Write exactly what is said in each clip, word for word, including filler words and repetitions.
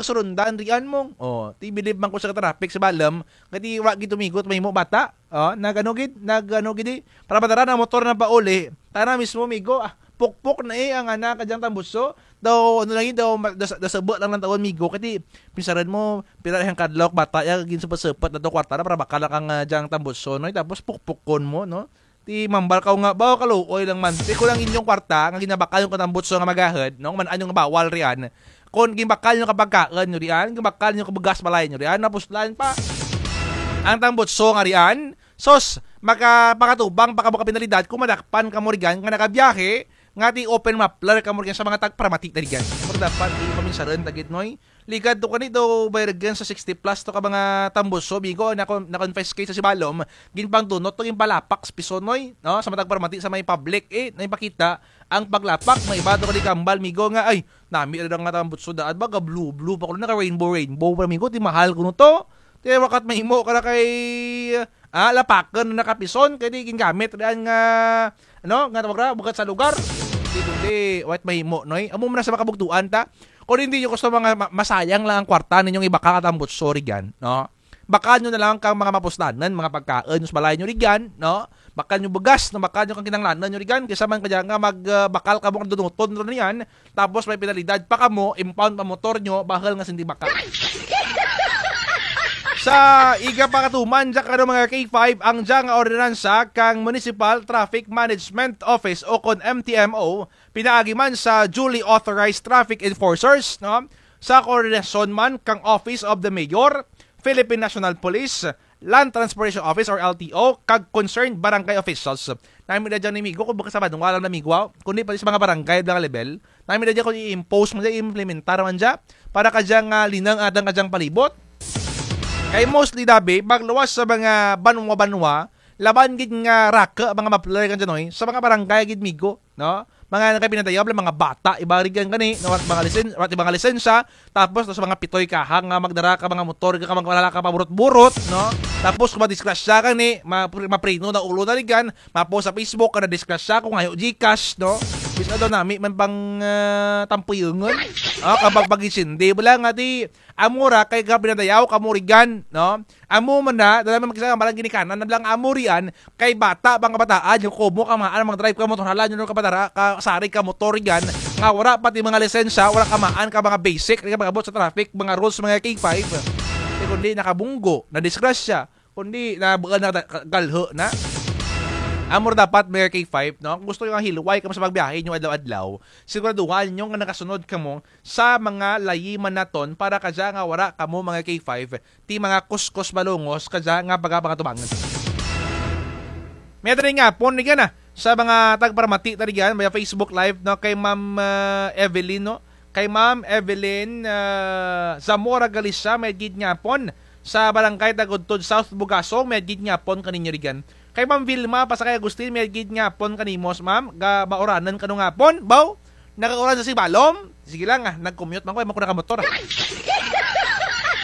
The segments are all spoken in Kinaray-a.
surundan rian mo. O, ti bilib man ko sa ka-traffic sa Balom, kay ti wa gid to migo ti mahimo bata. O, nag-ano gid, nag-ano gid, eh. Para madara na motor na pauli. Tana mismo migo, ah, pukpok na, eh, ang ana ka dyang tambutso. Daw, ano lang gid, daw, ma-, daw, daw saba lang lang tawon migo. Kay ti, pinsaran mo, pira ang kadlaw ka bata, ya, ginsepat-sepat na to kwarta na, para bakal kang, ah, dyang tambutso, no? Tapos pukpukon mo, no? Ti mambal kaw nga, baw, kaluoy lang man. Ti kon ang inyong kwarta, nga ginabakal nyo ka tambutso nga magahod, no? Man-an nyo nga bawal rian. Kon ginbakal nyo ka pagkaon nyo rian, ginbakal nyo ka bugas balay nyo rian, napuslan pa. Ang tambutso nga rian, sos, maka-, makatubang pa kamo ka penalidad kon madakpan kamo rian nga nagabiyahe, nga ti open muffler kamo rian sa mga tagparamati ta rian. Pero dapat, ti paminsaran ta gid, noy. Ligad to kani daw, bayragan sa sixty plus to ka mga tambutso, migo, na-con-, na-confiscate sa Sibalom, ginpangdunot to, ginpalapak sa piso, noy, no? Sa mga tagparamati sa may public, eh, na ipakita ang paglapak, may iba to kani kambal, migo, nga, ay, nami ra nga tambutso daan, baga blue, blue pa kuno, naka-rainbow, rainbow pa, migo, ti mahal kuno to. Ti wa kat mahimo kara kay, ah, lapakan na nakapison, kay ti gingamit rian nga, ano, nga tawag ra, bukut sa lugar. Ti kundi, wa kat mahimo, noy. Amo man na sa makabugtuan ta. Kon indi nyo gusto mga ma-, masayang lang ang kwarta ninyong ibakal ka tambutso rian, no? Bakal nyo na lang kang mga mapuslanan, mga pagkaon, sa balay nyo rian, no? Bakal nyo bugas, no? Bakal nyo kang kinahanglanan nyo rian, kaysa man kadya nga mag, ah, bakal kamo kang dunuton rian, tapos may penalidad pa kamo, impound pa motor nyo, bahul nga sindi bakal. Sa iga pa katuman, dya kano mga K five, ang dya nga ordinansa kang Municipal Traffic Management Office o kon M T M O, pinaagi man sa duly authorized traffic enforcers, no? Sa koordinasyon man kang Office of the Mayor, Philippine National Police, Land Transportation Office or L T O, kag concerned barangay officials. Nami ra dya ni migo, kon bukut sa banwa lang na migo, kundi pati sa mga barangay, mga level. Nami ra dya kon i-impose man dya, i-implementar man dya, para kadya nga, ah, linang atang kadyang palibot. Kay mostly dabi, pagluwas sa mga banwa-banwa, laban gid nga rake, mga muffler kang dyan, oy, sa mga barangay gid migo. No? Mga nagapinadayaw, mga bata, iba rigan kani, no? Wara't mga lisen-, wara't iba nga lisensya, tapos, tapos mga pitoy kaha nga magdara ka mga motor, ka magdara ka paburot-burot, no? Tapos, kon madisgrasya kani, ma-, mapreno na ulo na rigan, ma-post sa Facebook, nga nadisgrasya, kon hayo Gcash, no? Bisan daw nami man pang, ah, tampuyungon. Ah, kabag pag-isindi, bala nga ti, amo ra kay gapinadayaw kamo rigan, no? Amo man na, dala man kis-a nga balang ginikanan, na bala nga amo rian, kay bata pa nga bataan, nyo komo kamaan, mag-drive ka motor, hala nyo, no, kabatara, ka, sari ka motor rian, nga wara pa ti mga lisensya, wara kamaan ka mga basic, rigan pag-abot sa traffic, mga rules, mga K five. Ti kundi nakabunggo, nadisgrasya, kundi nabuan na ta-, ka-, galho na. Amo ra dapat, mga K five, no? Kon gusto nyo nga hilway kamo sa pagbiyahe nyo adlaw-adlaw, siguraduhan nyo nga nakasunod kamo sa mga layi man naton para kadya nga wara kamo mga K five ti mga kuskos balungos kadya nga pagapangatubangan. May-ada run gihapon rigan, ah, sa mga tagparamati ta rigan, via Facebook Live, no, kay Ma'am, ah, Evelyn, no? Kay Ma'am Evelyn, ah, Zamora Galicia, may-ada gid gihapon sa Barangay Tagudtod South, Bugasong, may-ada gid gihapon kaninyo rigan. Kay Ma'am Vilma Pasakay Agustin, may-ada gid gihapon kanimo, ma'am, ga-, mauranan kano nga hapon, baw? Nagauran sa Sibalom? Sige lang, ah, nag-commute man ko, ay man ko nakamotor, ah.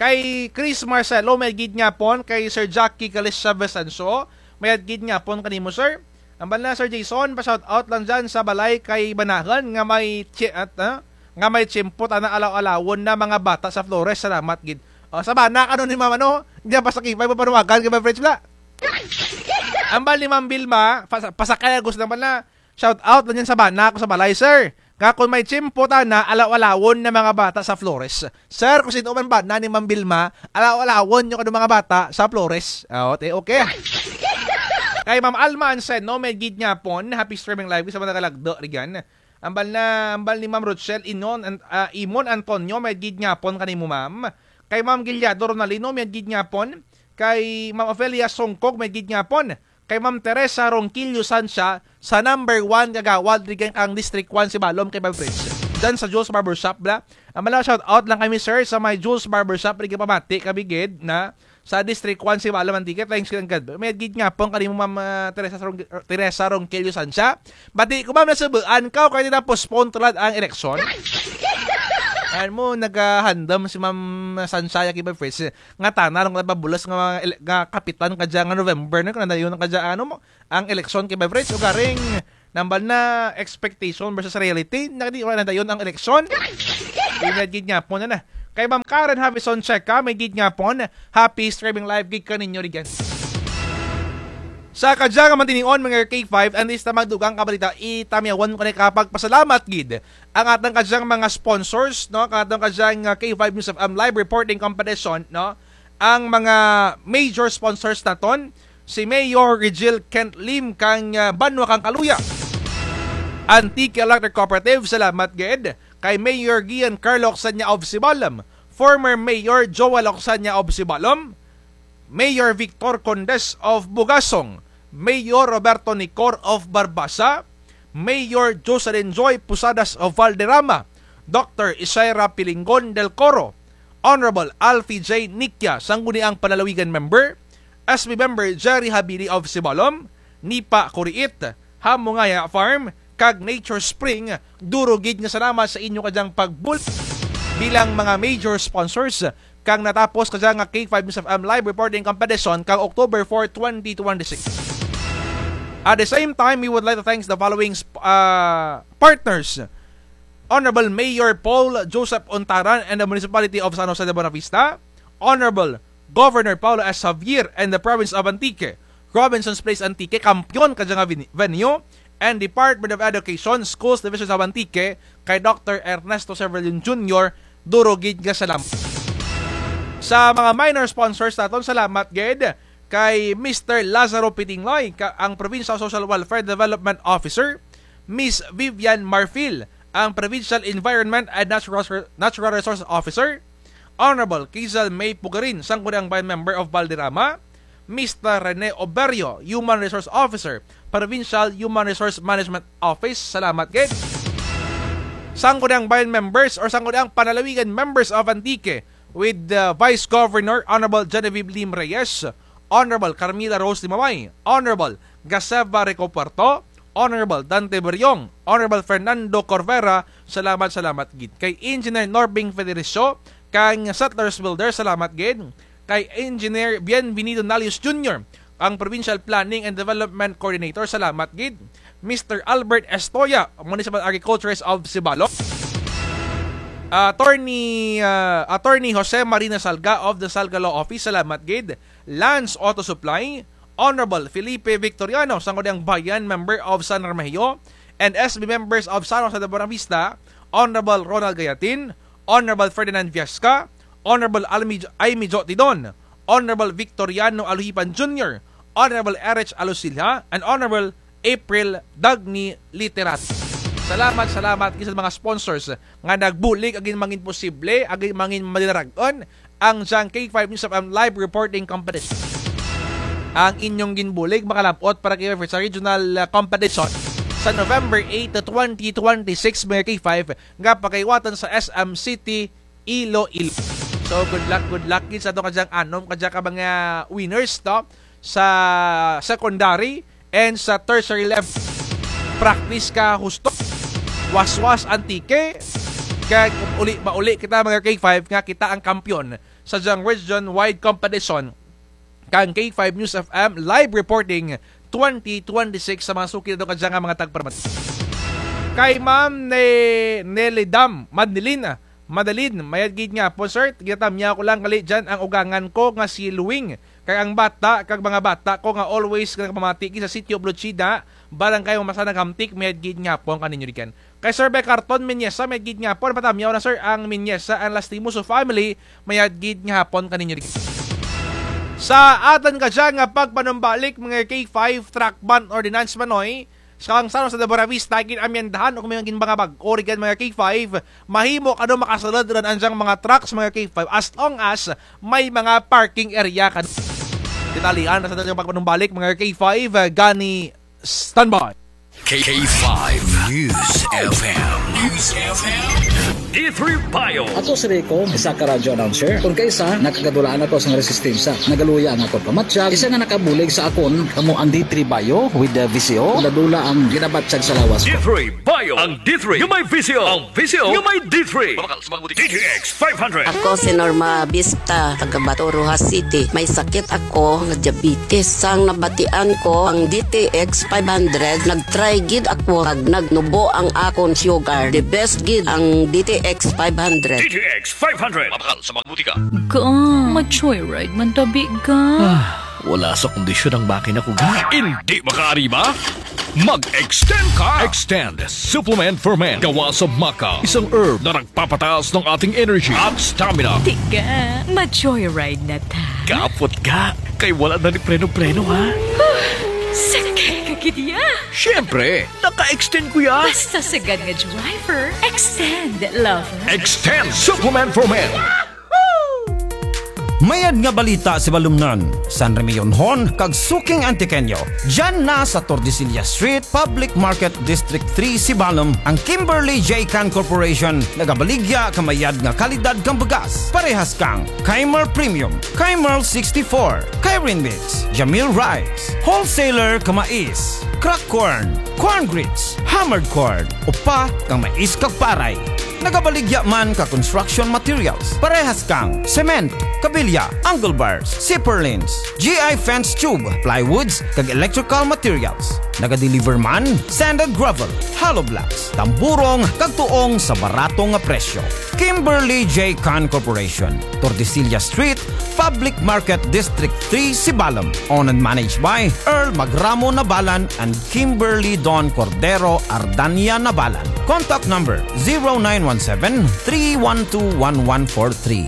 Kay Chris Marcelo, may-ada gid gihapon, kay Sir Jackie Galicia Vicencio, may-ada gid gihapon kanimo, sir. Ambal na, Sir Jason, pa-shout out lang dyan sa balay kay Banahan nga may tsi-, at, ah, nga may tiyempo tana alaw-alawon na mga bata sa Flores. Salamat gid. O, sa bana kano ni mama, no? Dyan pa sa K five, panuwagan kay Ma'am French bala. Ambal ni Ma'am Vilma, pas-, Pasakay Agus naman na, shout out lang dyan sa bana ko sa balay, sir. Nga kon may tiyempo tana, alaw-alawon na mga bata sa Flores. Sir, kon sin-o man bana ni Ma'am Vilma, alaw-alawon nyo kano mga bata sa Flores. O, ti, okay. Kay Ma'am Alma Anseno, may-ada gid gihapon, happy streaming live, sa mga nagalagdo, rigan. Ambal na, ambal ni Ma'am Rochelle Inon, an-, ah, Imon Antonio, may-ada gid gihapon kanimo, ma'am. Kay Ma'am Giliado Ronalino, may-ada gid gihapon. Kay Ma'am Ofelia Songkog, may-ada gid gihapon. Kay Ma'am Teresa Ronquillo Sancha, sa number one kagawad rigan kang District one Sibalom kay Ma'am French. Dyan sa Jules Barbershop bala. Ambal na, shout out lang kami, sir, sa may Jules Barbershop, rigan pamati kami gid na sa District one Sibalom, Antique. Thanks gid kang God. May-ada gid gihapon kanimo, Ma'am, ah, Teresa Rong-, Teresa Ronquillo Sancha. Bati ko, ma'am, nasubaan kaw kay na-postpone tulad ang eleksyon. Ano mo, nagahandam si Ma'am Sancha, ya kay Ma'am French. Nga tana run nga pabulas nga mga ele-, nga kapitan kadya nga November na, kon nadayon kadya, ano mo, ang eleksyon kay Ma'am French. Ugaring, nambal na expectation versus reality. Nakadi, wara nadayon ang eleksyon. May-ada gid gihapon na na. Kay Ma'am Karen Havison Checa, may gid nga pon, happy streaming live gid kaninyo rugyan. Sa kadya nga mantinion, mga K five, antes ta magdugang kabalita, itamyawan ko na kapagpasalamat gid ang atong kadyang mga sponsors, no? Ang atong kadyang, ah, K five News F M live reporting competition, no? Ang mga major sponsors naton, si Mayor Rigil Kent Lim kang, ah, banwa kang Caluya. Antique Electric Cooperative, salamat gid. Kay Mayor Gian Carlo Ocsanya of Sibalom, former Mayor Joel Ocsanya of Sibalom, Mayor Victor Condes of Bugasong, Mayor Roberto Nicor of Barbaza, Mayor Jocelyn Joy Posadas of Valderrama, Doctor Isaira Pilingon del Coro, Honorable Alfie J Nikia, Sangguniang Panlalawigan member, S B member Jerry Habili of Sibalom, Nipa Kuriit, Hamungaya Farm, kag Nature Spring, duro gid nga salamat sa inyo kadyang pagbulig bilang mga major sponsors kang natapos kadya nga K five News F M live reporting competition kang October four, twenty twenty-six. At the same time, we would like to thank the following sp-, ah, partners. Honorable Mayor Paul Joseph Ontaran and the Municipality of San Jose de Buenavista, Honorable Governor Paolo S. Javier and the Province of Antique, Robinson's Place Antique, kampiyon kadya nga veni-, venue, and Department of Education, Schools Division of Antique, kay Doctor Ernesto Severino Junior, duro gid nga salamat. Sa mga minor sponsors naton, salamat gid kay Mister Lazaro Pitingloy, ka-, ang Provincial Social Welfare Development Officer, Miss Vivian Marfil, ang Provincial Environment and Natural Resor-, Natural Resource Officer, Honorable Kizal May Pugarin, Sangguniang Bayan Member of Valderrama, Mister Rene Oberio, Human Resource Officer, Provincial Human Resource Management Office, salamat gid. Sangguniang Bayan Members or Sangguniang Panlalawigan Members of Antique, with the Vice Governor, Honorable Genevieve Lim Reyes, Honorable Carmila Rose Limaway, Honorable Gaseva Rico Puerto, Honorable Dante Beriong, Honorable Fernando Corvera, salamat, salamat gid. Kay Engineer Norbing Federicio, kang Settlers Builder, salamat gid. Kay Engineer Bienvenido Nalius Junior, ang Provincial Planning and Development Coordinator, salamat gid. Mister Albert Estoya, Municipal Agriculturist of Sibalom. Attorney, ah, Attorney Jose Marina Salga of the Salga Law Office, salamat gid. Lance Auto Supply, Honorable Felipe Victoriano, Sangguniang Bayan, member of San Remigio, and S B members of San Jose de Buenavista, Honorable Ronald Gayatin, Honorable Ferdinand Viesca, Honorable Almi-, Aimee Jo Tidon, Honorable Victoriano Alojipan Junior, Honorable Erich Alosilja, and Honorable April Dagny Literati. Salamat, salamat gid sa mga sponsors nga nagbulig, agin mangin posible, agin mangin madinarag-on ang dyang K five News F M live reporting competition. Ang inyong ginbulig makalab-ot para kay sa regional, ah, competition sa November eight, twenty twenty-six, mga K five, nga pakahiwatan sa S M City, Iloilo. So, good luck, good luck gid sa aton kadyang anom kadya ka mga winners, no? Sa secondary and sa tertiary level. Practice ka husto. Waswas Antique. Kag uli, mauli kita, mga K five, nga kita ang kampiyon sa dyang region-wide competition kang K five News F M live reporting twenty twenty-six sa mga suki naton kadya nga mga tagparamati. Kay Ma'am Ne-, Nelly Dam, Madeline, ah, Madeline, mayad gid nga hapon, sir. Ginatamyaw ko lang gali dyan ang ugangan ko nga si Luwing. Kay ang bata, kag mga bata ko nga always nga nagpamati gid sa Sitio Blochida, Barangay Mamasa, Naghamtic, mayad gid nga hapon kaninyo rugyan. Kay Sir Becarton Miñesa, mayad gid nga hapon, patamyaw na, sir, ang Miñesa and Lastimoso family, mayad gid nga hapon kaninyo rugyan. Sa atun kadya nga pagpanumbalik, mga K five, truck ban ordinance, manoy, sa kang San Jose de Buenavista, gin-amyendahan o kung may gin mga bag-o rugyan, mga K five, mahimo kano makasulod run ang dyang mga trucks, mga K five, as long as may mga parking area kano. Detalyehan na sa atun kadya nga pagpanumbalik, mga K five, ah, gani Standby. K five News F M. News F M. D three Bio. Ako si Rico, isa ka radyo announcer. Kon kaisa, nakagadulaan ako sa resistensya. Nagaluya ang akon pamatyag. Isa nga nakabulig sa akon, kamo ang D three Bio with the V C O. Dula-dula ang ginabatyag sa lawas ko. D three Bio. Ang D three nga may visyo. Ang visyo nga may D three. Mabakal sa mga butika. D T X five hundred. Ako si Norma Vista, taga Bato, Roxas City. May sakit ako nga diabetes. Sang nabatian ko ang D T X five hundred, nag-try gid ako, kag nagnubo ang akon sugar. The best gid ang D T X five hundred. D T X five hundred. Mabakal sa mga butika. Ga, ma-joyride man tabi, ga. Ah, wala sa kondisyon ang makina ko, ga. Hindi makaariba? Mag-Xtend ka! Xtend Supplement for Men. Gawa sa maca, isang herb na nagpapataas ng ating energy at stamina. Tiga, ma-joyride na ta. Kapot, ga. Kay wala na ni preno-preno, ha? Sakay ka gid ya. Siyempre, naka-Xtend ko ya. Basta sagad nga driver, Xtend lover. Xtend Supplement for Men. Mayad nga balita, Sibalomnon, San Remillonhon, kag suking Antiqueño. Dyan na sa Tordesillas Street, Public Market, District three, Sibalom, ang Kimberly J Can Corporation, nagabaligya ka mayad nga kalidad kang bugas. Parehas kang Keimer Premium, Keimer sixty-four, Keirin Mix, Jamil Rice, Wholesaler ka mais, Crack Corn, Corn Grits, Hammered Corn, upa kang mais kag paray. Nagabaligya man ka construction materials, parehas kang cement, kabilya, angle bars, zipper lines, G I fence tube, plywoods, kag electrical materials. Nagadeliver man, sand and gravel, hollow blocks, tamburong, kag tuong sa barato nga presyo. Kimberly J Can Corporation, Tordesillas Street, Public Market, District three, Sibalom. Owned and managed by Earl Magramo Nabalan and Kimberly Don Cordero Ardania Nabalan. Contact number zero nine one seven, three one two, one one four three.